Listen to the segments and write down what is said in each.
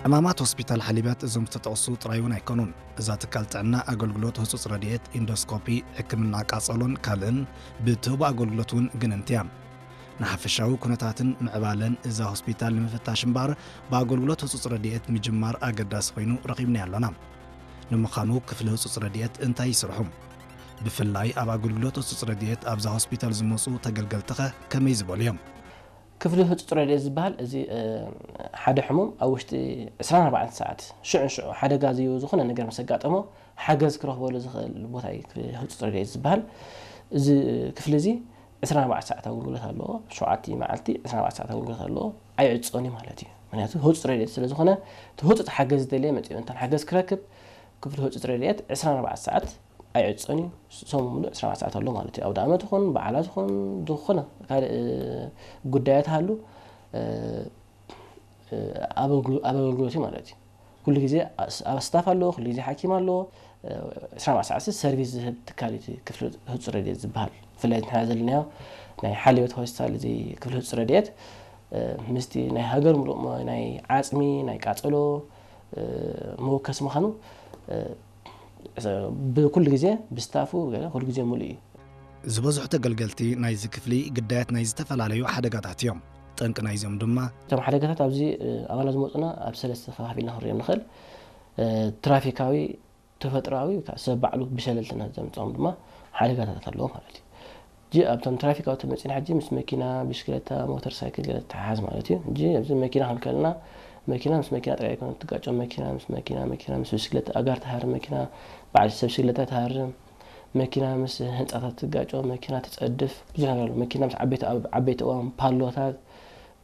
ዕማማት ሆስፒታል ሓሊበት እዞም ዝተጠቕሱ ጥራይ እውን ኣይኮኑን። እዛ ትካል ጥዕና ኣገልግሎት ህጹጽ ረድኤት፣ ኢንዶስኮፒ፣ ሕክምና ቃጸሎን ካልእን ብትህቦ ኣገልግሎት እውን ግንንቲ እያ። ንሓፈሻዊ ኩነታትን ምዕባለን እዛ ሆስፒታል ንምፍታሽ እምበኣር፣ ብኣገልግሎት ህጹጽ ረድኤት ምጅማር ኣገዳሲ ኮይኑ ረኺብናዮ ኣሎና። ንምዃኑ ክፍሊ ህጹጽ ረድኤት እንታይ ይስርሑ? ብፍላይ ኣብ ኣገልግሎት ህጹጽ ረድኤት ኣብዛ ሆስፒታል ዝመጹ ተገልገልትኸ ከመይ ዝበሉ እዮም? ክፍሊ ህጹጽ ረድኤት ዝበሃል እዚ ሓደ ሕሙም ኣብ ውሽጢ ዕስራን ኣርባዕተን ሰዓት ሽዑ ንሽዑ ሓደጋ ዝዩ ዝኾነ ነገር ምስ ኣጋጠሞ ሓገዝ ክረኽበሉ ዝኽእል ቦታ እዩ ክፍሊ ህጹጽ ረድኤት ዝበሃል። እዚ ክፍሊ እዚ ዕስራን ኣርባዕተን ሰዓት ኣገልግሎት ኣለዎ። ሸውዓተ መዓልቲ ዕስራን ኣርባዕተን ሰዓት ኣገልግሎት ኣለዎ። ኣይዕጾን እዩ ማለት እዩ። ምክንያቱ ህጹጽ ረድኤት ስለ ዝኾነ፣ እቲ ህጹጽ ሓገዝ ዝደለየ መጺኡ እንተን ሓገዝ ክረክብ ክፍሊ ህጹጽ ረድኤት ዕስራን ኣርባዕተን ሰዓት ኣይዕጾን እዩ። ሰሙን ሙሉእ ዕስራን ኣርባዕተን ሰዓት ኣሎ ማለት እዩ። ኣውደ ኣመት ይኹን በዓላት ይኹን ዝኾነ ካልእ ጉዳያት ሃሉ ኣብ ኣገልግሎት እዩ ማለት እዩ። ኩሉ ግዜ ኣብ ስታፍ ኣለዎ፣ ኩሉ ግዜ ሓኪም ኣለዎ። ዕስራን ኣርባዕተን ሰዓት ሰርቪስ ዝህብ ትካል እዩ ክፍሊ ህጹጽ ረድኤት ዝበሃል። ብፍላይ ንሕና ዘለናዮ ናይ ሓልዮት ሆስፒታል እዚ ክፍሊ ህጹጽ ረድኤት ምስቲ ናይ ሃገር ሙሉእ ናይ ዓጽሚ ናይ ቃጸሎ መወከሲ ምዃኑ ብኩሉ ግዜ ብስታፉ ገለ ኩሉ ግዜ ሙሉእ እዩ። ዝበዝሑ ተገልገልቲ ናይዚ ክፍሊ ግዳያት ናይ ዝተፈላለዩ ሓደጋታት እዮም። ጠንቂ ናይዚኦም ድማ እቶም ሓደጋታት ኣብዚ ኣባላት ዝመፁና ኣብ ሰለስተ ከፋፊልና ክንሪኦም ንኽእል። ትራፊካዊ፣ ተፈጥሮኣዊ፣ ካብ ሰብ ባዕሉ ብሸለልትነት ዘምፅኦም ድማ ሓደጋታት ኣለዎ ማለት እዩ። ሕጂ ኣብቶም ትራፊካዊ ተመፂና ሕጂ ምስ መኪና፣ ብሽክለታ፣ ሞተር ሳይክል ገለ ተሓሓዝ ማለት እዩ። ሕጂ ኣብዚ መኪና ክንከልና መኪና ምስ መኪና ጥራይ ኣይኮነ ትጋጮ፣ መኪና ምስ መኪና፣ መኪና ምስ ብሽክለታ፣ ኣጋር ትሃርም መኪና፣ በዓል ሰብ ብሽክለታ ትሃርም፣ መኪና ምስ ህንፃታት ትጋጮ፣ መኪና ትፀድፍ፣ ብዙሕ ነገር ኣሎ። መኪና ምስ ዓበይቲ ኣብ ዓበይቲ እዋን ፓሎታት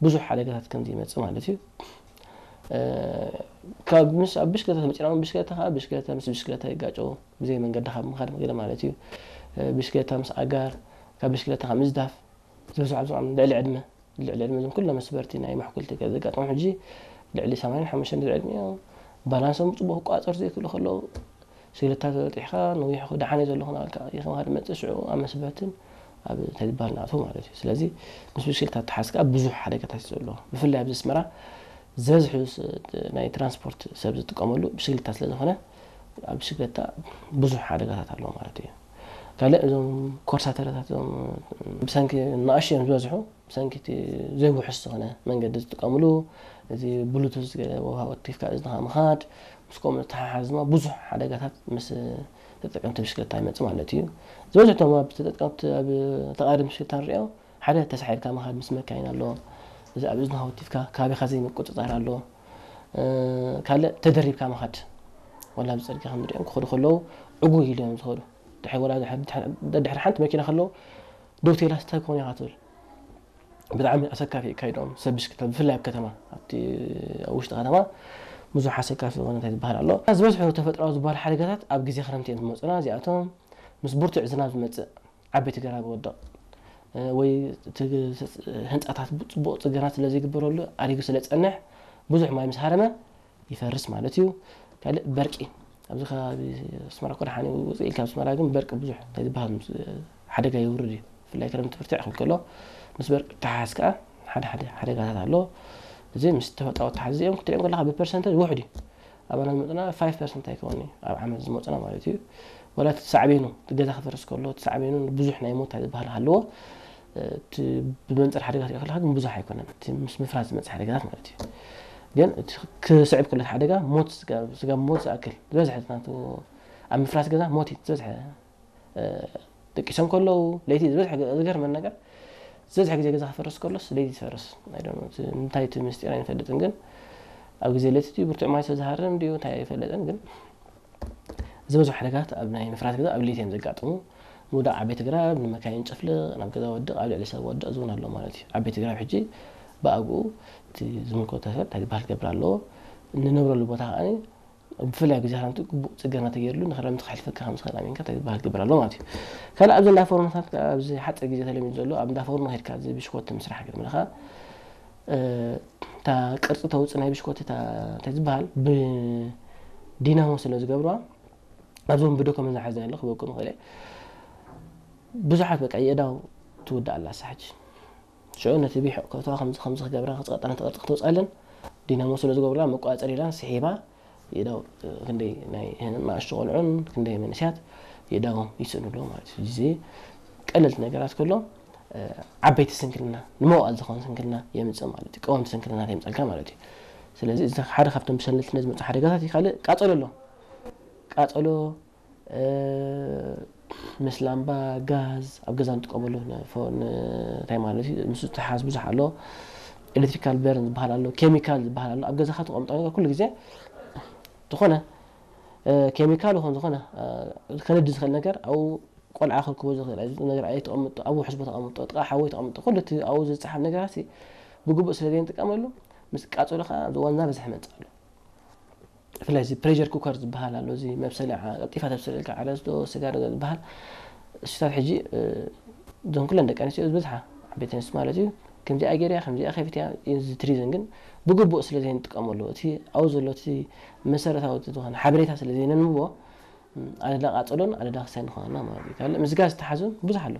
ብዙሕ ሓደጋታት ከም ዝመፅእ ማለት እዩ። ካብ ምስ ኣብ ብሽክለታ ተመፂና እውን ብሽክለታ ከዓ ብሽክለታ ምስ ብሽክለታ ይጋጨው ብዘይ መንገዲ ካብ ምኻድ ገለ ማለት እዩ። ብሽክለታ ምስ ኣጋር ካብ ብሽክለታ ካብ ምዝዳፍ ዝበዝሑ ኣብዞም ልዕሊ ዕድመ ልዕሊ ዕድመ እዞም ኩሎም መስበርቲ ናይ ማሕኩልቲ ገለ ዘጋጥሞም ሕጂ ልዕሊ ሰማንያን ሓሙሽተን ልዕሊ ዕድመ እዮም። ባላንሶም ብፅቡቅ ክቋፀሩ ዘይክእሉ ከለዉ ሽግለታ ተበጢሕካ ነዊሕ ዳሓን እየ ዘለኹ እናበልካ ይኸምካ ድመፅእ ሽዑ ኣብ መስበርትን ኣብ እንታይ ዝበሃል ንኣትዎ ማለት እዩ። ስለዚ ምስ ብሽክሌታ ተሓዝካ ብዙሕ ሓደጋታት እዩ ዘሎ። ብፍላይ ኣብዚ ኣስመራ ዝበዝሑ ናይ ትራንስፖርት ሰብ ዝጥቀመሉ ብሽክሌታ ስለ ዝኾነ ኣብ ብሽክሌታ ብዙሕ ሓደጋታት ኣለዎ ማለት እዩ። ካልእ እዞም ኮርሳተረታት እዞም ብሰንኪ ንኣሽቱ እዮም ዝበዝሑ። ብሰንኪ እቲ ዘይውሑስ ዝኾነ መንገዲ ዝጥቀምሉ፣ እዚ ብሉቱዝ ገለ ወሃወት ቲፍካ እዝንኻ ምኻድ፣ ምስ ከምኡ ዝተሓሓዝ ድማ ብዙሕ ሓደጋታት ምስ ተጠቀምቲ ብሽክለታ ይመጽእ ማለት እዩ። ዝበዝሑ እቶም ኣብ ተጠቀምቲ ኣብ ተቓደምቲ ብሽክለታ ንሪኦ ሓደ ተሳሒልካ ምኻድ ምስ መካይን ኣሎ። እዚ ኣብ እዝንኻ ወቲፍካ ከባቢኻ ዘይምቁጽጻር ኣሎ። ካልእ ተደሪብካ ምኻድ፣ ወላ ኣብ ጽርግያ ክንሪኦም ክኸዱ ከለዉ ዕጉግ ኢሉ እዮም ዝኸዱ። ድሕሪ ወላ ድሕሪ ሓንቲ መኪና ከለዉ ደው ቴላስ እንታይ ክኾኑ ኢኻ ትብል። ብጣዕሚ ኣሰካፊ እዩ ካይድኦም ሰብ ብሽክለታ ብፍላይ ኣብ ከተማ ኣብቲ ኣብ ውሽጢ ከተማ ብዙሕ ኣሰካፊ ዝኾነ እንታይ ዝበሃል ኣሎ። ዝበዝሑ ተፈጥሮዊ ዝበሃል ሓደጋታት ኣብ ግዜ ክረምቲ እዮም ዝመፁና። እዚኣቶም ምስ ብርቱዕ ዝናብ ዝመፅእ ዓበይቲ ገራብ ይወድቕ ወይ ህንፃታት ፅቡቕ ፅገና ስለ ዘይግበረሉ ኣሪጉ ስለ ዝፀንሕ ብዙሕ ማይ ምስ ሃረመ ይፈርስ ማለት እዩ። ካልእ በርቂ ኣብዚ ከባቢ ኣስመራ እኮ ደሓን እዩ ውፅእ ኢልካ ኣብ ኣስመራ ግን በርቂ ብዙሕ ናይ ዝበሃል ሓደጋ የውርድ እዩ። ብፍላይ ክረምቲ ብርትዕ ክብል ከሎ ምስ በርቂ ተሓሓዝ ከዓ ሓደ ሓደ ሓደጋታት ኣሎ። እዚ ምስ ተፈጥራዊ ተሓዝ እዚኦም ክትሪኦም ከለካ ብፐርሰንተጅ ውሕድ እዩ። ኣባና ዝመፅና ፋይቭ ፐርሰንት ኣይከውን እዩ ኣብ ዓመት ዝመፅና ማለት እዩ። ወላ እቲ ሳዕቤኑ እቲ ገዛ ክፈርስ ከሎ እቲ ሳዕቤኑ ብዙሕ ናይ ሞት ዝበሃል ኣለዎ። እቲ ብመንፅር ሓደጋ ትሪኦ ከለካ ግን ብዙሕ ኣይኮነን። እቲ ምስ ምፍራስ ዝመፅእ ሓደጋታት ማለት እዩ። ግን እቲ ክስዕብ ከሎ ሓደጋ ሞት ስጋ ሞት ዝኣክል ዝበዝሐ ናቱ ኣብ ምፍራስ ገዛ ሞት እዩ ዝበዝሐ። ደቂሶም ከለዉ ለይቲ ዝበዝሐ ዝገርመን ነገር ዝበዝሐ ግዜ ገዛ ክፈርስ ከሎስ ለይቲ ዝፈርስ እንታይ እቲ ምስጢር ኣይንፈልጥን። ግን ኣብ ግዜ ለይቲ ብርቱዕ ማይ ዝሃርም ድዩ እንታይ ኣይፈለጥን። ግን ዝበዝሑ ሓደጋታት ኣብ ናይ ምፍራስ ገዛ ኣብ ለይቲ እዮም ዘጋጥሙ። ምውዳቕ ዓበይቲ ግራብ ንመካይን ጨፍልቕ ናብ ገዛ ወድቕ ኣብ ልዕሊ ሰብ ወድቕ ዝውን ኣሎ ማለት እዩ። ዓበይቲ ግራብ ሕጂ ብኣግኡ እቲ ዝምልከቶ ሰብ እንታይ ዝበሃል ክገብር ኣለዎ። እንነብረሉ ቦታ ከዓ ብፍላይ ኣብ ግዜ ክረምቲ ግቡእ ፅገና ተገይርሉ ንክረምቲ ክሕልፈካ ከም ዝኽእል ኣሚንካ እንታይ ዝበሃል ክገብር ኣለዎ ማለት እዩ። ካልእ ኣብዚ እንዳ ፎርኖታት ኣብዚ ሓፂር ግዜ ተለሚዱ ዘሎ ኣብ እንዳ ፎርኖ ከድካ እዚ ብሽኮቲ ምስራሕ ክትብል ከለካ እታ ቅርፂ ተውፅእ ናይ ብሽኮቲ እንታይ ዝበሃል ብዲናሞ ስለ ዝገብርዋ ኣብዞም ብዶኮመን ዝሓዝና ኣሎ ክበቁ ምኽእል እየ። ብዙሓት በቃ የእዳው ትውዳእ ኣላ ሳሕጂ ሽዑ ነቲ ቢሕ ከእትዋ ከምዚ ከምዚ ክገብራ ክፅቐጠና ተቐርፂ ክትወፅኣለን ዲናሞ ስለ ዝገብሩላ መቆፃፀሪላን ስሒባ የእዳው ክንደይ ናይ ንኣሽቱ ቆልዑን ክንደይ መንእሰያት የእዳዎም ይስእኑ ኣለዉ ማለት እዩ። እዚ ቀለልቲ ነገራት ከሎ ዓበይቲ ስንክልና፣ ንመዋእል ዝኾን ስንክልና የምፅእ ማለት እዩ። ቀወምቲ ስንክልና የምፀልካ ማለት እዩ። ስለዚ እዚ ሓደ ካብቶም ብሰንልትነት ዝመፁ ሓደጋታት እዩ። ካልእ ቃፀሎ ኣሎ። ቃፀሎ ምስ ላምባ፣ ጋዝ፣ ኣብ ገዛ ንጥቀመሉ እንታይ ማለት እዩ፣ ምስ ተሓዝ ብዙሕ ኣሎ። ኤሌክትሪካል በርን ዝበሃል ኣሎ፣ ኬሚካል ዝበሃል ኣሎ። ኣብ ገዛኻ ተቐምጦ ነገር ኩሉ ግዜ ዝኾነ ኬሚካል ይኹን ዝኾነ ከነዲ ዝኽእል ነገር ኣብኡ ቆልዓ ክርክቦ ዝኽእል ነገር ኣይተቐምጦ፣ ኣብ ውሑስ ቦታ ተቐምጦ፣ ጥቓ ሓዊ ተቐምጦ፣ ኩሉ እቲ ኣብኡ ዝፀሓፍ ነገራት ብግቡእ ስለ ዘይንጥቀመሉ ምስ ቃፀሎ ከዓ ዝወና በዝሕ መፅእ ኣሎ። ብፍላይ እዚ ፕሬሸር ኩከር ዝበሃል ኣሎ፣ እዚ መብሰሊ ዓ- ቀልጢፋ ተብስለልካ ዓለስቶ ስጋ ዶ ዝበሃል እሱታት ሕጂ እዞን ኩለን ደቂ ኣንስትዮ ዝበዝሓ ዓበይቲ ኣንስትዮ ማለት እዩ። ከምዚኣ ገይርያ ከምዚኣ ከፊትያ እዚ ትሪዝን ግን ብግቡእ ስለ ዘይንጥቀመሉ እቲ ኣብኡ ዘሎ እቲ መሰረታዊ እቲ ዝኾነ ሓበሬታ ስለ ዘይነንብቦ ኣደዳ ቃፀሎን ኣደዳ ክሳይ ንኾነና ማለት እዩ። ካልእ ምስ ጋዝ ዝተሓዙ ብዙሕ ኣሎ።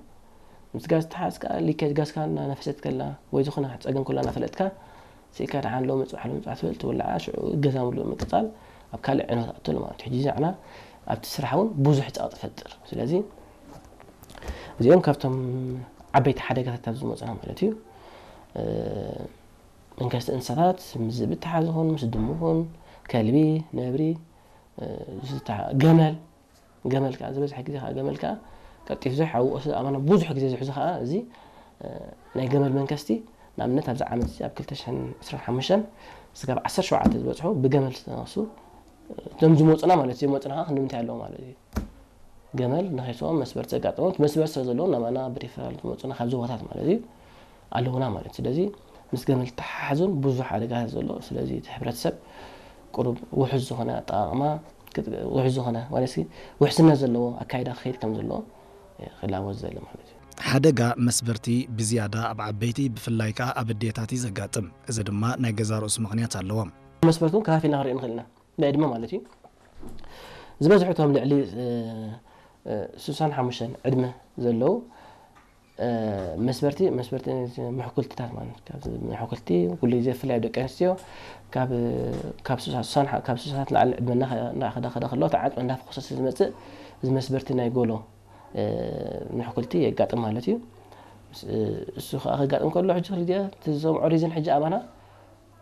ምስ ጋዝ ዝተሓዝ ከዓ ሊኬጅ ጋዝ ከዓ እናነፈሰት ከላ ወይ ዝኾነ ፀገም ከሎ እናፈለጥካ ስኢካ ደሓን ሎ መፅባሕ ሎ መፅባሕ ትብል ትውልዓ ሽዑ ገዛ ምሉእ ምቅፃል ኣብ ካልእ ዕንወት ኣትሉ ማለት እዩ። ሕጂ ዛዕና ኣብቲ ስራሕ እውን ብዙሕ ፀቕጢ ፈጥር። ስለዚ እዚኦም ካብቶም ዓበይቲ ሓደጋታት ኣብ ዝመፁና ማለት እዩ። መንከስቲ እንስሳታት ምስ ዝብተሓ ዝኾን ምስ ድሙ ኹን ከልቢ ነብሪ ገመል ገመል ከዓ ዝበዝሐ ግዜ ከዓ ገመል ከዓ ቀልጢፍ ዝሕ ኣብ ወቅሲ ኣማና ብዙሕ ግዜ ዝሕዙ ከዓ እዚ ናይ ገመል መንከስቲ ንኣብነት ኣብዚ ዓመት እዚ ኣብ ክልተ ሽሕን ዕስራን ሓሙሽተን ስጋብ ዓሰርተ ሸውዓተ ዝበፅሑ ብገመል ዝተነሱ እቶም ዝመፁና ማለት እዩ። መፅና ከዓ ክንምንታይ ኣለዎ ማለት እዩ። ገመል ንኸይስኦም መስበር ዘጋጠሞት መስበር ስለ ዘለዎም ናባና ብሪፈራል ዝመፁና ካብ ዞባታት ማለት እዩ ኣለውና ማለት እዩ። ስለዚ ምስ ገመል ተሓሓዙን ብዙሕ ሓደጋታት ዘሎ ስለዚ እቲ ሕብረተሰብ ቁሩብ ውሑስ ዝኾነ ኣጠቃቕማ ውሑስ ዝኾነ ማለት ውሕስነት ዘለዎ ኣካይዳ ክኸይድ ከም ዘለዎ ክላወዝ ዘለ ማለት እዩ። ሓደጋ መስበርቲ ብዝያዳ ኣብ ዓበይቲ ብፍላይ ከዓ ኣብ ኣዴታት እዩ ዘጋጥም። እዚ ድማ ናይ ገዛ ርእሱ ምኽንያት ኣለዎ። መስበርቲ እውን ከፋፊልና ክንርኢ ንኽእል ኢና። ናይ ዕድመ ማለት እዩ። ዝበዝሑ እቶም ልዕሊ ስሳን ሓሙሽተን ዕድመ ዘለዉ መስበርቲ መስበርቲ ምሕኩልትታት ማለት ካብ ምሕኩልቲ ኩሉ ግዜ ብፍላይ ደቂ ኣንስትዮ ካብ ካብ ሱሳት ንላዕሊ ዕድመ እናኸዳ ከሎ ተዓፅመ እንዳፈኮሰ ዝመፅእ እዚ መስበርቲ ናይ ጎሎ ምሕኩልቲ የጋጥም ማለት እዩ። እሱ ከዓ ከጋጥም ከሎ ሕጂ ክልቲኦ እቲ ዝሰምዖ ሪዝን ሕጂ ኣባና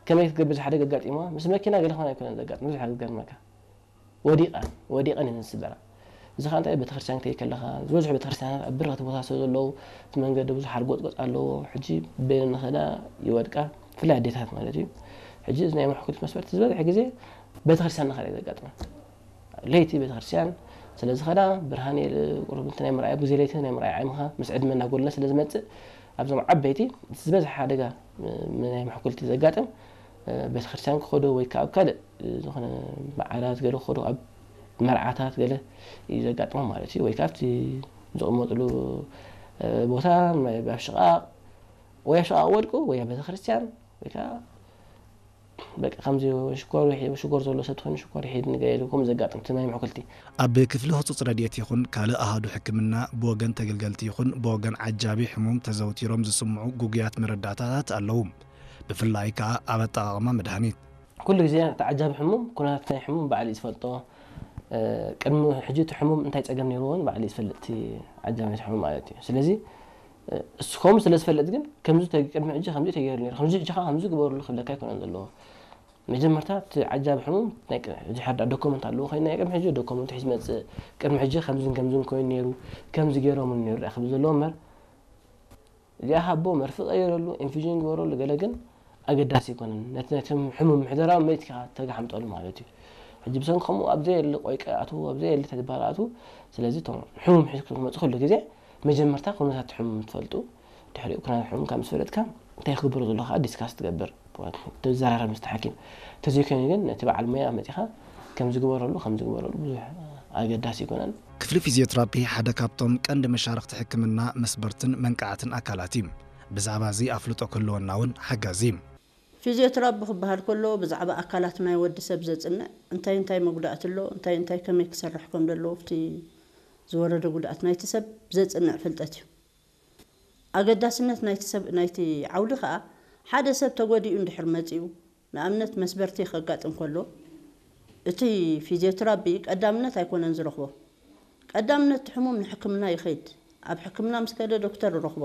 ከመይ ክትገብር ዝሓደገ ኣጋጢሞ ምስ መኪና ገለ ኾነ ኣይኮነን ዘጋጥም ብዙሕ ዝገርመካ ወዲቐ ወዲቐን እየን ዝስበራ። እዚ ከዓ እንታይ ቤተክርስትያን ክትከይድ ከለካ ዝበዝሑ ቤተክርስትያናት ኣብ በረኽቲ ቦታ ስለ ዘለዉ እቲ መንገዲ ብዙሕ ሓርጎፅጎፅ ኣለዎ። ሕጂ በይነን ንኸዳ ይወድቃ ብፍላይ ኣዴታት ማለት እዩ። ሕጂ እዚ ናይ ምሕኩልቲ መስበርቲ ዝበዝሐ ግዜ ቤተክርስትያን ንኸዳ እዩ ዘጋጥመን። ለይቲ ቤተክርስትያን ስለ ዝኸዳ ብርሃን ቁሩብ እቲ ናይ ምርኣይ ግዜ ለይቲ ናይ ምርኣይ ዓይምኻ ምስ ዕድመ እናጎለነ ስለ ዝመፅእ ኣብዞም ዓበይቲ ዝበዝሐ ሓደጋ ናይ ምሕኩልቲ ዘጋጥም ቤተክርስትያን ክኸዱ ወይ ከዓ ኣብ ካልእ ዝኾነ በዓላት ገለ ክኸዱ ኣብ መርዓታት ገለ እዩ ዘጋጥሞም ማለት እዩ። ወይ ከዓ ኣብቲ ዝቕመጥሉ ቦታ ኣብ ሽቓቕ ወይ ኣብ ሽቓቕ ወድቁ ወይ ኣብ ቤተክርስትያን ወይ ከዓ በቃ ከምዚ ሽኮር ይሒ- ሽኮር ዘሎ ሰብ ትኾይኑ ሽኮር ይሒድ ንገ ኢሉ ከምኡ ዘጋጥም እቲ ናይ ምሕኩልቲ ኣብ ክፍሊ ህፁፅ ረድኤት ይኹን ካልእ ኣሃዱ ሕክምና ብወገን ተገልገልቲ ይኹን ብወገን ዓጃቢ ሕሙም ተዘውቲሮም ዝስምዑ ጉጉያት መረዳእታታት ኣለዉ። ብፍላይ ከኣ ኣብ ኣጠቓቕማ መድሃኒት። ኩሉ ግዜ እቲ ዓጃቢ ሕሙም ኩነታት ናይ ሕሙም ባዕሉ እዩ ዝፈልጦ። ቅድሚ ሕጂ እቲ ሕሙም እንታይ ጸገም ነይርዎ እውን ባዕሉ እዩ ዝፈልጥ እቲ ዓጃቢ ናይቲ ሕሙም ማለት እዩ። ስለዚ እሱ ከምኡ ስለ ዝፈልጥ ግን ከምዚ ተግ- ቅድሚ ሕጂ ከምዚ ተገይሩ ነይሩ ከምዚ ሕጂ ከዓ ከምዚ ግበሩሉ ክብለካ ኣይኮነን ዘለዎ። መጀመርታ እቲ ዓጃቢ ሕሙም ናይ ቅድሚ ሕጂ ሓዳ ዶኮመንት ኣለዎ ኮይኑ ናይ ቅድሚ ሕጂ ዶኮመንት ሒዝ መፅእ ቅድሚ ሕጂ ከምዝን ከምዝን ኮይኑ ነይሩ ከምዚ ገይሮም ነይሩ ዳ ክብል ዘለዎ እምበር እዚኣ ሃቦ መርፊ ቀይረሉ ኢንፊዥን ግበረሉ ገለ ግን ኣገዳሲ ኣይኮነን። ነቲ ነቲ ሕሙም ምሕደራዊ መሬት ኢኻ ተጋሓምጠሉ ማለት እዩ። ሕጂ ብሰንኪ ከምኡ ኣብ ዘየለ ቆይቀ ኣትዉ ኣብ ዘየለ ተግባር ኣትዉ። ስለዚ እቶም ሕሙም ሒዝኩም ክትመፁ ኩሉ ግዜ መጀመርታ ኩነታት ሕሙም ትፈልጡ ድሕሪኡ ኩነታት ሕሙም ካብ ምስ ፈለጥካ እንታይ ክግበሮ ዘሎ ከዓ ዲስካስ ትገብር። ትዘራረብ ምስቲ ሓኪም። ተዘይኮይኑ ግን ነቲ በዓል ሞያ መፂኻ ከም ዝግበረሉ ከም ዝግበረሉ ብዙሕ ኣገዳሲ ኣይኮነን። ክፍሊ ፊዚዮትራፒ ሓደ ካብቶም ቀንዲ መሻርኽቲ ሕክምና መስበርትን መንቃዕትን ኣካላት እዩ። ብዛዕባ እዚ ኣፍልጦ ክህልወና እውን ሓጋዚ እዩ። ፊዚዮትራፒ ክበሃል ከሎ ብዛዕባ ኣካላት ናይ ወዲ ሰብ ዘጽንዕ እንታይ እንታይ መጉዳእቲ ኣሎ እንታይ እንታይ ከመይ ክሰርሕ ከም ዘለዎ ኣብቲ ዝወረደ ጉድኣት ናይቲ ሰብ ዘጽንዕ ፍልጠት እዩ። ኣገዳስነት ናይቲ ሰብ ናይቲ ዓውዲ ከኣ ሓደ ሰብ ተጎዲኡ እንድሕር መጺኡ ንኣብነት መስበርቲ ከጋጥም ከሎ እቲ ፊዚዮትራፒ ቀዳምነት ኣይኮነን ዝረኽቦ። ቀዳምነት እቲ ሕሙም ንሕክምና ይኸይድ። ኣብ ሕክምና ምስ ከደ ዶክተር ይረኽቦ።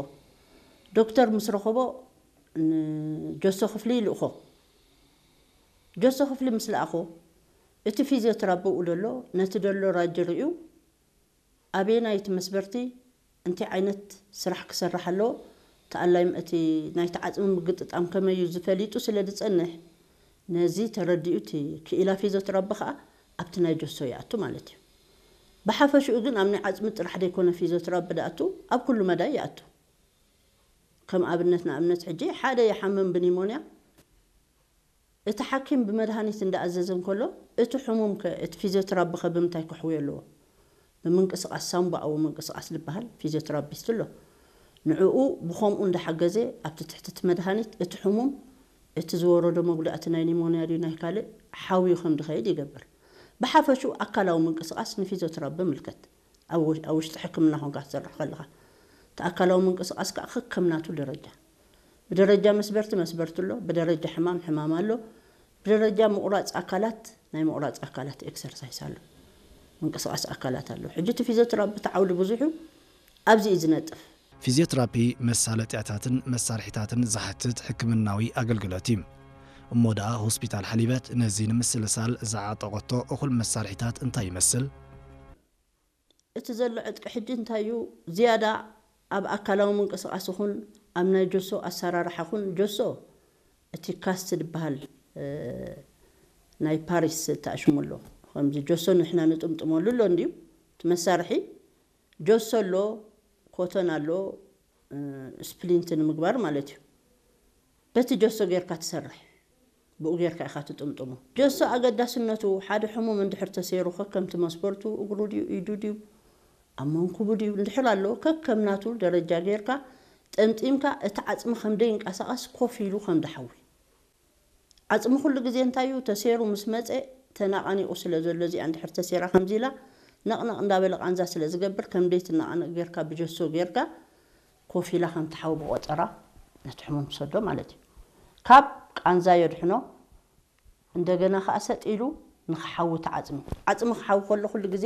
ዶክተር ምስ ረኸቦ ንጆሶ ክፍሊ ይልእኾ። ጆሶ ክፍሊ ምስ ለኣኾ እቲ ፊዚዮትራፒ ብኡ ደሎ ነቲ ደሎ ራጅ ርእዩ ኣበየናይ እቲ መስበርቲ እንታይ ዓይነት ስራሕ ክሰርሕ ኣለዎ፣ እቲ ኣላይም እቲ ናይቲ ዓጽሚ ምግጥጣም ከመይ እዩ ዝፈሊጡ ስለ ዝጸንሕ፣ ነዚ ተረዲኡ እቲ ክኢላ ፊዚዮትራፒ ከኣ ኣብቲ ናይ ጆሶ ይኣቱ ማለት እዩ። ብሓፈሽኡ ግን ኣብ ናይ ዓጽሚ ጥራሕ ዘይኮነ ፊዚዮትራፒ ድኣቱ ኣብ ኩሉ መዳይ ይኣቱ። ከም ኣብነት ንኣብነት ሕጂ ሓደ ይሓምም ብኒሞንያ እቲ ሓኪም ብመድሃኒት እንዳኣዘዘ እንከሎ እቲ ሕሙም ከ እቲ ፊዚዮትራፒ ከ ብምንታይ ክሕውዮ ኣለዎ? ብምንቅስቓስ ሳምቡኣዊ ምንቅስቓስ ዝበሃል ፊዚዮትራፒስት ኣሎ። ንዕኡ ብኸምኡ እንዳሓገዘ ኣብቲ ትሕቲ እቲ መድሃኒት እቲ ሕሙም እቲ ዝወረዶ መጉዳእቲ ናይ ኒሞንያ ድዩ ናይ ካልእ ሓውዩ ከም ድኸይድ ይገብር። ብሓፈሽኡ ኣካላዊ ምንቅስቓስ ንፊዚዮትራፒ ምልከት ኣብ ውሽ- ኣብ ውሽጢ ሕክምና ኮንካ ትሰርሕ ከለኻ እቲ ኣካላዊ ምንቅስቓስ ከዓ ከከም ናቱ ደረጃ ብደረጃ መስበርቲ መስበርቲ ኣሎ፣ ብደረጃ ሕማም ሕማም ኣሎ፣ ብደረጃ ምቑራፅ ኣካላት ናይ ምቑራፅ ኣካላት ኤክሰርሳይስ ኣሎ፣ ምንቅስቓስ ኣካላት ኣሎ። ሕጂ እቲ ፊዚዮትራፒ እቲ ዓውዲ ብዙሕ እዩ፣ ኣብዚ እዩ ዝነጥፍ። ፊዚዮትራፒ መሳለጥያታትን መሳርሒታትን ዝሓትት ሕክምናዊ ኣገልግሎት እዩ። እሞ ደኣ ሆስፒታል ሓሊበት ነዚ ንምስልሳል ዝዓጠቐቶ እኹል መሳርሒታት እንታይ ይመስል? እቲ ዘሎ ዕጥቂ ሕጂ እንታይ እዩ? ዝያዳ ኣብ ኣካላዊ ምንቅስቓስ ይኹን ኣብ ናይ ጆሶ ኣሰራርሓ ይኹን ጆሶ እቲ ካስት ዝበሃል ናይ ፓሪስ ተኣሽሙ ኣሎ። ከምዚ ጆሶ ንሕና ንጥምጥመሉ ኣሎ እንድዩ እቲ መሳርሒ ጆሶ ኣሎ፣ ኮተን ኣሎ፣ ስፕሊንት ንምግባር ማለት እዩ። በቲ ጀሶ ጌርካ ትሰርሕ፣ ብኡ ጌርካ ኢኻ ትጥምጥሞ። ጀሶ ኣገዳስነቱ ሓደ ሕሙም እንድሕር ተሰይሩ ከከምቲ መስበርቱ እግሩ ድዩ ኢዱ ድዩ ኣብ መንኩቡ ድዩ እንድሕር ኣሎ ከከም ናቱ ደረጃ ጌርካ ጠምጢምካ እቲ ዓጽሚ ከም ደይንቀሳቐስ ኮፍ ኢሉ ከም ድሓዊ። ዓጽሚ ኩሉ ግዜ እንታይ እዩ ተሰይሩ ምስ መጸ ተናቓኒቑ ስለ ዘሎ እዚኣ እንድሕር ተሰይራ ከምዚ ኢላ ነቕነቕ እንዳበለ ቃንዛ ስለ ዝገብር ከም ደይትነቓነቕ ጌርካ ብጀሶ ጌርካ ኮፍ ኢላ ከም ትሓዊ ብቆጸራ ነቲ ሕሙም ትሰዶ ማለት እዩ። ካብ ቃንዛ የድሕኖ። እንደገና ከኣ ሰጥ ኢሉ ንኽሓዊ እቲ ዓጽሚ። ዓጽሚ ክሓዊ ከሎ ኩሉ ግዜ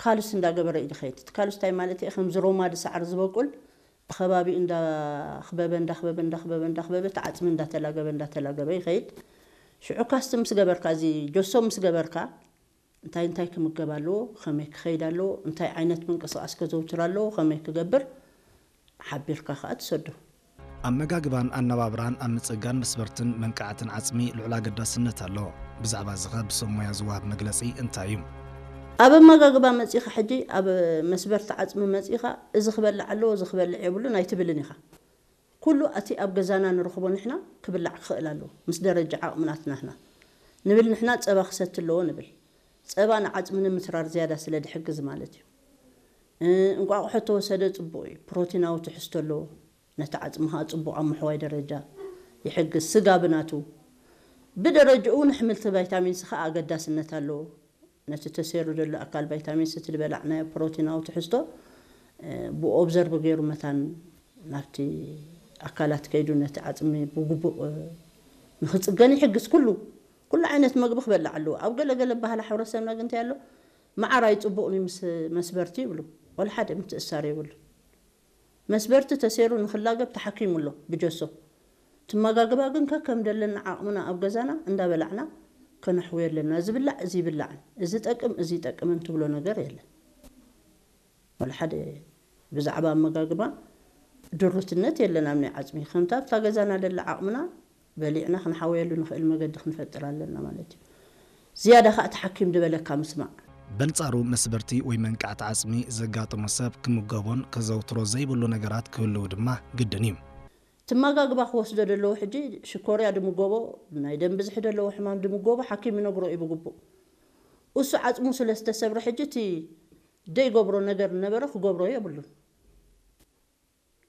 ካልስ እንዳገበረ እዩ ዝኸይድ። እቲ ካልስ እንታይ ማለት እዩ? ከምዚ ሮማዲ ሳዕሪ ዝበቁል ብኸባቢኡ እንዳኽበበ እንዳኽበበ እንዳኽበበ እንዳኽበበ እቲ ዓጽሚ እንዳተላገበ እንዳተላገበ ይኸይድ። ሽዑ ካስቲ ምስ ገበርካ እዚ ጆሶ ምስ ገበርካ እንታይ እንታይ ክምገብ ኣለዎ፣ ከመይ ክኸይድ ኣለዎ፣ እንታይ ዓይነት ምንቅስቓስ ከዘውትር ኣለዎ፣ ከመይ ክገብር ሓቢርካ ከኣ ትሰዶ። ኣመጋግባን ኣነባብራን ኣብ ምጽጋን መስበርትን መንቃዕትን ዓጽሚ ልዑል ኣገዳስነት ኣለዎ። ብዛዕባ እዚ ኸ ብሰብ ሞያ ዝወሃብ መግለጺ እንታይ እዩ? ኣብ ኣመጋግባ መጺኻ ሕጂ ኣብ መስበርቲ ዓጽሚ መጺኻ እዚ ክበልዕ ኣለዎ፣ እዚ ክበልዕ የብሉን ኣይትብልን ኢኻ። ኩሉ እቲ ኣብ ገዛና ንረኽቦ ንሕና ክብላዕ ክኽእል ኣለዎ። ምስ ደረጃ ዓቕምናት ናህና ንብል ንሕና ጸባ ክሰቲ ኣለዎ ንብል። ጸባ ንዓጽሚ ንምትራር ዝያዳ ስለ ድሕግዝ ማለት እዩ። እ፣ እንቋቑሖ ተወሰደ ጽቡቕ እዩ። ፕሮቲናዊ ትሕዝቶ ኣለዎ። ነቲ ዓጽሚ ኸኣ ጽቡቕ ኣብ ምሕዋይ ደረጃ ይሕግዝ። ስጋ ብናቱ ብደረጅኡ ንሕምልቲ ቫይታሚን ሲ ኸኣ ኣገዳስነት ኣለዎ። ነቲ ተሰይሩ ዘሎ ኣካል ቫይታሚን ሲ እቲ ዝበላዕናዮ ፕሮቲናዊ ትሕዝቶ እ፣ ብኦብዘርቭ ገይሩ መታን ናብቲ ኣካላት ከይዱ ነቲ ዓጽሚ ብግቡእ እ፣ ንኽጽገን ይሕግዝ። ኩሉ ኩሉ ዓይነት መግቢ ክበልዕ ኣለዎ። ኣብ ገለ ገለ ባህሊ ሕብረተሰብና ግን እንታይ ኣሎ? መዓር ኣይጽቡቕን እዩ ምስ መስበርቲ ይብሉ። ወላ ሓደ ምትእሳር የብሉ። መስበርቲ ተሰይሩ ንኽላገብ ተሓኪሙ ኣሎ ብጀሶ። እቲ ኣመጋግባ ግን ከከም ደለና ዓቕምና ኣብ ገዛና እንዳበላዕና ከነሕውዮ ኣለና። ዝብላዕ እዚ ይብላዕን እዚ ይጠቅም እዚ ይጠቅምን ትብሎ ነገር የለን። ወላ ሓደ ብዛዕባ ኣመጋግባ ድሩትነት የለን ኣብ ናይ ዓጽሚ። ከምታ ኣብታ ገዛና ደላ ዓቕምና በሊዕና ክንሓወየሉ ንኽእል መገዲ ክንፈጥር ኣለና ማለት እዩ። ዝያዳ ኸኣ እቲ ሓኪም ዝበለካ ምስማዕ። በንጻሩ መስበርቲ ወይ መንቃዕቲ ዓጽሚ ዘጋጥሞ ሰብ ክምገቦን ከዘውትሮ ዘይብሉ ነገራት ክህልዉ ድማ ግድን እዩ። እቲ ኣመጋግባ ክወስዶ ደለዎ ሕጂ ሽኮርያ ድምገቦ፣ ናይ ደም ብዝሒ ደለዎ ሕማም ድምገቦ ሓኪም ይነግሮ እዩ ብግቡእ። እሱ ዓጽሙ ስለ ዝተሰብረ ሕጂ እቲ ደይገብሮ ነገር ነበረ ክገብሮ የብሉን።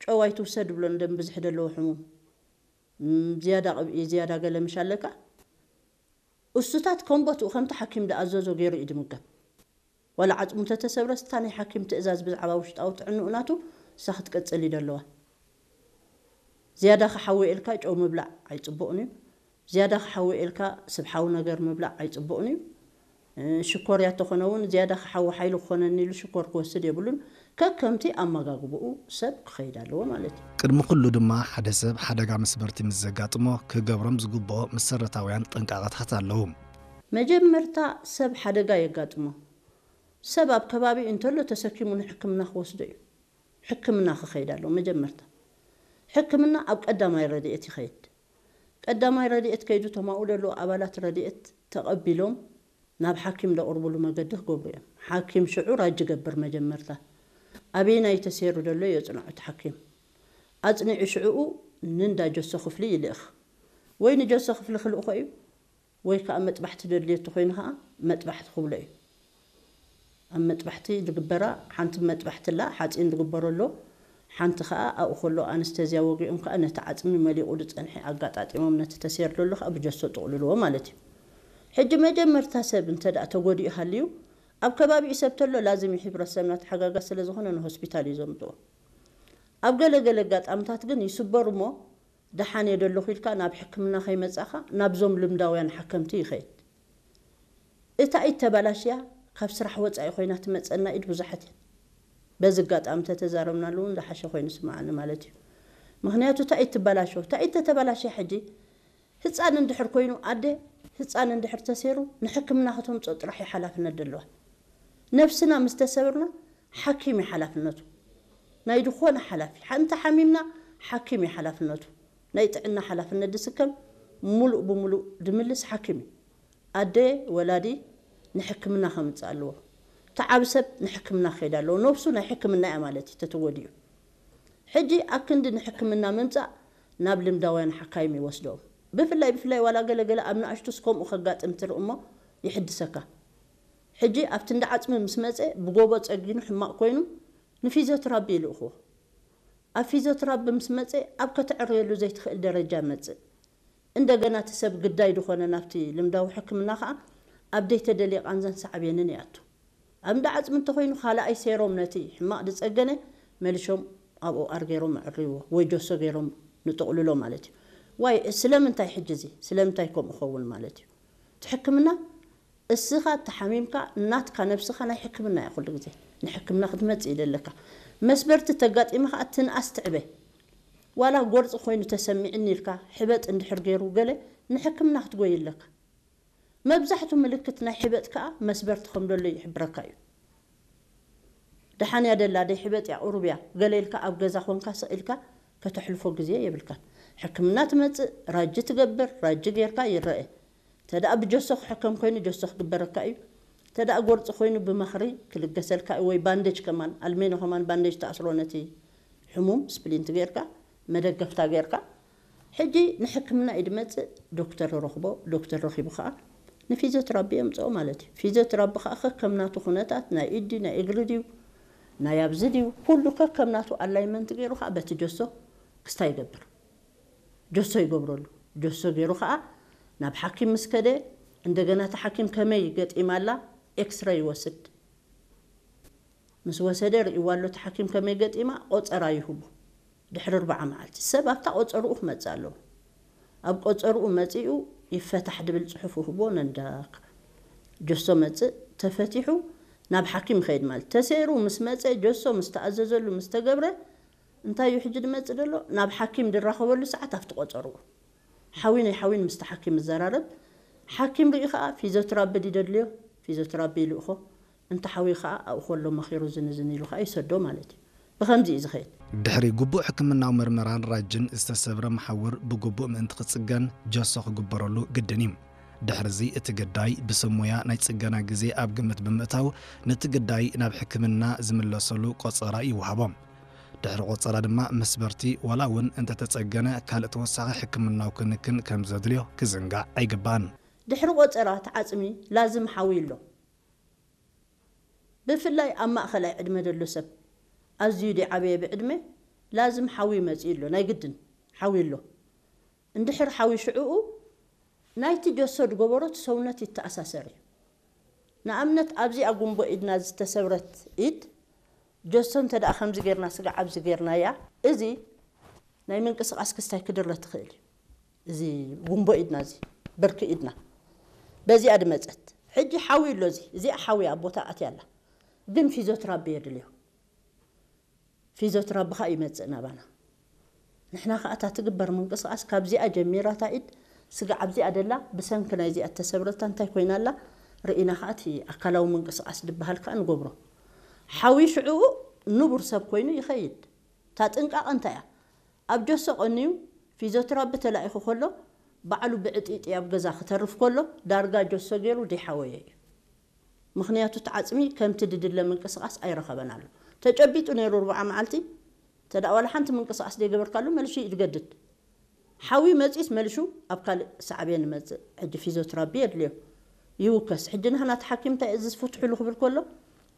ጨው ኣይትውሰድ ብሎ ንደም ብዝሒ ደለዎ ሕሙም። እም፣ ዝያዳ ቅብኢ፣ ዝያዳ ገለ ምሽ ኣለካ። እሱታት ከም ቦትኡ ከምቲ ሓኪም ድኣዘዞ ገይሩ እዩ ድምገብ። ዋላ ዓጽሙ ተተሰብረስ እታ ናይ ሓኪም ትእዛዝ ብዛዕባ ውሽጣዊ ጥዕንኡ ናቱ እሳ ክትቅጽል እዩ ደለዋ። ዝያዳ ክሓዊ ኢልካ ጨው ምብላዕ ኣይጽቡቕን እዩ። ዝያዳ ክሓዊ ኢልካ ስብሓዊ ነገር ምብላዕ ኣይጽቡቕን እዩ። ሽኮርያ ተኾነ እውን ዝያዳ ክሓዊ ሓይሊ ክኾነኒ ኢሉ ሽኮር ክወስድ የብሉን። ከከምቲ ኣመጋግብኡ ሰብ ክኸይድ ኣለዎ ማለት እዩ። ቅድሚ ኩሉ ድማ ሓደ ሰብ ሓደጋ መስበርቲ ምስ ዘጋጥሞ ክገብሮም ዝግብኦ መሰረታውያን ጥንቃቐታት ኣለዉ። መጀመርታ ሰብ ሓደጋ የጋጥሞ። ሰብ ኣብ ከባቢ እንተሎ ተሰኪሙ ንሕክምና ክወስዶ እዩ። ሕክምና ክኸይድ ኣለዎ መጀመርታ። ሕክምና ኣብ ቀዳማይ ረድኤት ይኸይድ። ቀዳማይ ረድኤት ከይዱ ተማኡ ደለዉ ኣባላት ረድኤት ተቐቢሎም ናብ ሓኪም ደቕርብሉ መገዲ ክገብሩ እዮም። ሓኪም ሽዑ ራጅ ይገብር መጀመርታ። ኣበየናይ ተሰይሩ ደሎ የጽንዖ እቲ ሓኪም። ኣጽኒዑ ሽዕኡ ንንዳ ጀሶ ክፍሊ ይልእኽ። ወይ ንጀሶ ክፍሊ ክልእኾ እዩ፣ ወይ ከኣ መጥባሕቲ ደድልዮ ተኾይኑ ከኣ መጥባሕቲ ክብሎ እዩ። ኣብ መጥባሕቲ ዝግበራ ሓንቲ መጥባሕቲ ኣላ፣ ሓጺን ዝግበሮ ኣሎ። ሓንቲ ከኣ ኣብኡ ከሎ ኣነስተዝያ ወጊኦም ከኣ ነቲ ዓጽሚ መሊቑ ዝጸንሐ ኣጋጣጢሞም ነቲ ተሰይሩ ዘሎ ከኣ ብጀሶ ጥቕልልዎ ማለት እዩ። ሕጂ መጀመርታ ሰብ እንተ ደኣ ተጎዲኡ ሃልዩ ኣብ ከባቢኡ ሰብ ተሎ ላዝም እዩ፣ ሕብረተሰብና ተሓጋጋዝ ስለ ዝኾነ ንሆስፒታል እዩ ዘምጽኦ። ኣብ ገለ ገለ ኣጋጣምታት ግን ይስበሩ እሞ ደሓን እየ ደለኹ ኢልካ ናብ ሕክምና ከይመጻኻ ናብዞም ልምዳውያን ሓከምቲ ይኸይድ። እታ ኢድ ተባላሽያ ካብ ስራሕ ወጻኢ ኮይና ትመጸና ኢድ ብዙሓት እየን። በዚ ኣጋጣሚ ተተዛረብናሉ እውን ዝሓሸ ኮይኑ ስምዓኒ ማለት እዩ። ምኽንያቱ እታ ኢድ ትባላሾ፣ እታ ኢድ ተተባላሽያ ሕጂ ህጻን እንድሕር ኮይኑ ኣደ ህጻን እንድሕር ተሰይሩ ንሕክምና ከተምጽኦ ጥራሕ እዩ ሓላፍነት ደለዋ። ነብስና ምስ ተሰብርና ሓኪም እዩ ሓላፍነቱ። ናይ ዝኾነ ሓላፊ ሓንቲ ሓሚምና ሓኪም እዩ ሓላፍነቱ። ናይ ጥዕና ሓላፍነት ዝስከም ሙሉእ ብሙሉእ ድምልስ ሓኪም እዩ። ኣደ ወላዲ ንሕክምና ከምጽእ ኣለዎ። ተዓብ ሰብ ንሕክምና ክኸይድ ኣለዎ። ነብሱ ናይ ሕክምና እያ ማለት እዩ ተተጎዲኡ። ሕጂ ኣብ ክንዲ ንሕክምና ምምጻእ ናብ ልምዳውያን ሓካይም ይወስዶም። ብፍላይ ብፍላይ ዋላ ገለገለ ኣብ ንኣሽቱስ ከምኡ ከጋጥም ትርኢ እሞ ይሕድሰካ። ሕጂ ኣብቲ እንዳ ዓጽሚ ምስ መጸ ብጎቦ ጸጊኑ ሕማቕ ኮይኑ ንፊዚዮትራቢ ይልእኽዎ። ኣብ ፊዚዮትራቢ ምስ መጸ ኣብ ከተዕርየሉ ዘይትኽእል ደረጃ መጽእ። እንደገና እቲ ሰብ ግዳይ ዝኾነ ናብቲ ልምዳዊ ሕክምና ከኣ ኣብ ደይተደልየ ቃንዛን ሳዕቤንን ይኣቱ። ኣብ እንዳ ዓጽሚ እንተኾይኑ ካልኣይ ሴሮም ነቲ ሕማቕ ዝጸገነ መሊሾም ኣብኡ ኣር ገይሮም ኣዕርይዎ ወይ ጀሶ ገይሮም ንጥቕልሎ ማለት እዩ። ዋይ ስለምንታይ ሕጂ እዚ ስለምንታይ ከምኡ ኸውን ማለት እዩ። እቲ ሕክምና እስኻ ተሓሚምካ ናትካ ነብስኻ ናይ ሕክምና እያ ኩሉ ግዜ ንሕክምና ክትመጽእ ይደለካ። መስበርቲ ተጋጢመ ከኣ ትንኣስ ትዕበ። ዋላ ጎርፂ ኮይኑ ተሰሚዕኒ ኢልካ ሕበጥ እንድሕር ገይሩ ገለ ንሕክምና ክትጎይ ኣለካ። መብዛሕቱ ምልክት ናይ ሕበጥ ከኣ መስበርቲ ከም ደሎ ይሕብረካ እዩ። ደሓን እያ ደላ ደይ ሕበጥ እያ ቁሩብ እያ ገለ ኢልካ ኣብ ገዛ ኮንካ ስቕ ኢልካ ከተሕልፎ ግዜ የብልካን። ሕክምና ትመጽእ ራጂ ትገብር ራጂ ጌርካ ይረአ። ተደኣ ብጀሶ ክሕከም ኮይኑ ጀሶ ክግበረካ እዩ። ተደኣ ጎርፂ ኮይኑ ብመኽሪ ክልገሰልካ እዩ ወይ ባንደጅ ከማን ኣልሜኖ ከማን ባንደጅ ተኣስሮ ነቲ ሕሙም ስፕሊንት ጌርካ መደገፍታ ጌርካ ሕጂ ንሕክምና እዩ ድመጽእ። ዶክተር ረኽቦ ዶክተር ረኺቡ ከዓ ንፊዚዮትራቢ የምፅኦ ማለት እዩ። ፊዚዮትራቢ ከዓ ከከም ናቱ ኩነታት ናይ ኢዲ ናይ እግሪ ድዩ ናይ ኣብዚ ድዩ ኩሉ ከከም ናቱ ኣላይመንት ገይሩ ከዓ በቲ ጀሶ ክስታ ይገብር። ጀሶ ይገብረሉ። ጀሶ ገይሩ ከዓ ናብ ሓኪም ምስ ከደ እንደገና እቲ ሓኪም ከመይ ገጢማ ኣላ ኤክስረ ይወስድ። ምስ ወሰደ ርእይዋ ኣሎ እቲ ሓኪም ከመይ ገጢማ ቆፀራ ይህቡ። ድሕሪ ኣርብዓ መዓልቲ ሰብ ኣብታ ቆፀርኡ ክመፅእ ኣለዎ። ኣብ ቆፀርኡ መፂኡ ይፈታሕ ድብል ፅሑፍ ይህቦ ነንዳካ ጀሶ መፅእ ተፈቲሑ ናብ ሓኪም ይኸይድ ማለት ተሰይሩ ምስ መፀ ጀሶ ምስ ተኣዘዘሉ ምስ ተገብረ እንታይ እዩ ሕጂ ድመፅእ ደሎ ናብ ሓኪም ድራኸበሉ ሰዓት ኣብቲ ቆፀርኡ ሓዊ ናይ ሓዊን ምስቲ ሓኪም ይዘራረብ። ሓኪም ሪኡ ከዓ ፊዚዮትራቢ ድደድልዮ ፊዚዮትራቢ ይልእኾ። እንተ ሓዊ ከዓ ኣብኡ ከሎ መኺሩ ዝንዝን ኢሉ ከዓ ይሰዶ ማለት እዩ። ብኸምዚ እዩ ዝኸይድ። ድሕሪ ግቡእ ሕክምናዊ ምርመራን ራጅን ዝተሰብረ መሓውር ብግቡእ ምእንቲ ክጽገን ጀሶ ክግበረሉ ግድን እዩ። ድሕርዚ እቲ ግዳይ ብሰብ ሞያ ናይ ጽገና ግዜ ኣብ ግምት ብምእታው ነቲ ግዳይ ናብ ሕክምና ዝምለሰሉ ቆጸራ ይወሃቦ። ድሕሪ ቆጸራ ድማ መስበርቲ ዋላ እውን እንተተጸገነ ካልእ ተወሳኺ ሕክምናዊ ክንክን ከም ዘድልዮ ክዝንጋዕ ኣይግባእን። ድሕሪ ቆጸራ እቲ ዓጽሚ ላዝም ሓዊ ኣሎ። ብፍላይ ኣብ ማእኸላይ ዕድመ ዘሎ ሰብ ኣዝዩ ድዓበየ ብዕድመ ላዝም ሓዊ መፂኡ ኣሎ ናይ ግድን ሓዊ ኣሎ። እንድሕር ሓዊ ሽዕኡ ናይቲ ጀሶ ድገበሮ እቲ ሰውነት ይተኣሳሰር እዩ። ንኣብነት ኣብዚኣ ጉንቦ ኢድና ዝተሰብረት ኢድ ጀሶ እንተ ደኣ ከምዚ ጌርና ስጋዕ ኣብዚ ጌርናያ እዚ ናይ ምንቅስቓስ ክስታይ ክድረ ትኽእል እዩ። እዚ ጉንቦ ኢድና፣ እዚ ብርኪ ኢድና በዚኣ ድመጸት። ሕጂ ሓዊ ኣሎ፣ እዚ እዚኣ ሓዊ ኣብ ቦታ ኣትያ ኣላ። ግን ፊዚዮትራፒ የድልዮ። ፊዚዮትራፒ ኸኣ ይመጽእ ናባና። ንሕና ኸኣ እታ ትግበር ምንቅስቓስ ካብዚኣ ጀሚራ፣ እታ ኢድ ስጋዕ ኣብዚኣ ደላ፣ ብሰንኪ ናይዚኣ እተሰብረታ እንታይ ኮይና ኣላ ርኢና ኸኣ እቲ ኣካላዊ ምንቅስቓስ ድበሃል ከኣ ንገብሮ። ሓዊ ሽዕኡ ንቡር ሰብ ኮይኑ ይኸይድ። እታ ጥንቃቐ እንታይ እያ? ኣብ ጀሶ ቀንዩ ፊዚዮትራፒ ተላኢኹ ከሎ፣ ባዕሉ ብዕጢጢ ኣብ ገዛ ክተርፍ ከሎ፣ ዳርጋ ጀሶ ገይሩ ደይሓወየ እዩ። ምኽንያቱ እቲ ዓጽሚ ከምቲ ድድለ ምንቅስቓስ ኣይረኸበን ኣሎ። ተጨቢጡ ነይሩ ርብዓ መዓልቲ፣ እንተ ደኣ ዋላ ሓንቲ ምንቅስቓስ ደይገበርካሉ፣ መልሹ እዩ ዝገድድ። ሓዊ መጺስ መልሹ ኣብ ካልእ ሳዕቤን ይመጽእ። ሕጂ ፊዚዮትራፒ የድልዮ፣ ይውከስ። ሕጂ ንሕና እቲ ሓኪም እንታይ እዚ ፍትሕሉ ክብል ከሎ፣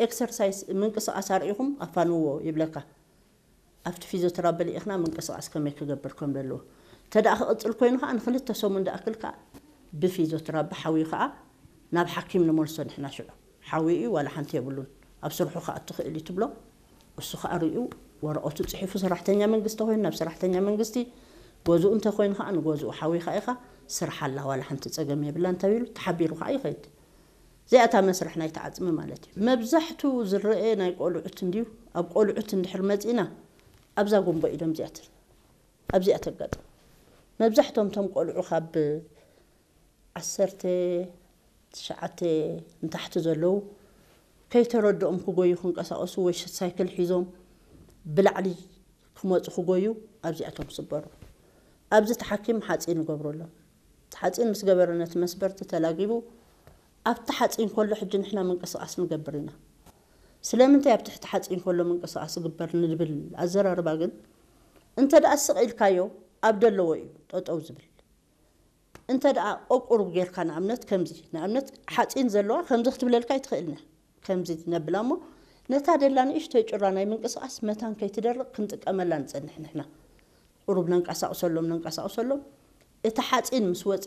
ኤክሰርሳይስ፣ ምንቅስቓስ ኣርኢኹም ኣፋንውዎ ይብለካ። ኣብቲ ፊዚዮትራፒ ልኢኽና ምንቅስቓስ ከመይ ክገብር ከም ዘለዎ። እንተ ደኣ ክቕጽል ኮይኑ ኸኣ ንኽልተ ሰሙን ዝኣክል ከኣ ብፊዚዮትራፒ ሓዊ ኸኣ ናብ ሓኪም ንመልሶ ንሕና ሽዑ። ሓዊ እዩ ዋላ ሓንቲ የብሉን። ኣብ ስርሑ ክኣቱ ክእል እዩ ትብሎ። እሱ ኸኣ ርእዩ ወረቐቱ ጽሒፉ ሰራሕተኛ መንግስቲ ኮይኑ ናብ ሰራሕተኛ መንግስቲ፣ ገዝኡ እንተ ኮይኑ ኸኣ ንገዝኡ ሓዊ ኸኣ ኢኻ ስራሕ ኣላ ዋላ ሓንቲ ጸገም የብላን ተቢሉ ተሓቢሩ ኸኣ ይኸይድ። እዚኣ እታ መስርሕ ናይቲ ዓጽሚ ማለት እዩ። መብዛሕቱ ዝረአ ናይ ቆልዑት እንድዩ። ኣብ ቆልዑት እንድሕር መጺእና ኣብዛ ጎንቦ ኢዶም እዚኣ ት-፣ ኣብዚኣ ተጋጥም። መብዛሕቶም እቶም ቆልዑ ካብ ዓሰርተ ትሽዓተ ንታሕቲ ዘለዉ ከይተረድኦም ክጎዩ ክንቀሳቐሱ ወይ ሳይክል ሒዞም ብላዕሊ ክመጹ ክጎዩ ኣብዚኣቶም ስበሩ። ኣብዚ እቲ ሓኪም ሓጺን ይገብረሎም። እቲ ሓጺን ምስ ገበረ ነቲ መስበርቲ ተላጊቡ ኣብቲ ሓጺን ከሎ ሕጂ ንሕና ምንቅስቓስ ንገብር ኢና። ስለምንታይ ኣብ ትሕቲ ሓጺን ከሎ ምንቅስቓስ ይግበር ንብል ኣዘራርባ ግን እንተ ደኣ ስቕ ኢልካዮ ኣብ ደለዎ እዩ ጠጠው ዝብል። እንተ ደኣ ቆቁሩብ ጌርካ ንኣብነት ከምዚ፣ ንኣብነት ሓጺን ዘለዋ ከምዚ ክትብለልካ ኣይትኽእልን እያ። ከምዚ ነብላ እሞ ነታ ደላ ንእሽተይ ጭራ ናይ ምንቅስቓስ መታን ከይትደርቕ ክንጥቀመላ ንጸንሕ ንሕና። ቁሩብ ነንቀሳቕሰሎም፣ ነንቀሳቕሰሎም። እቲ ሓጺን ምስ ወጸ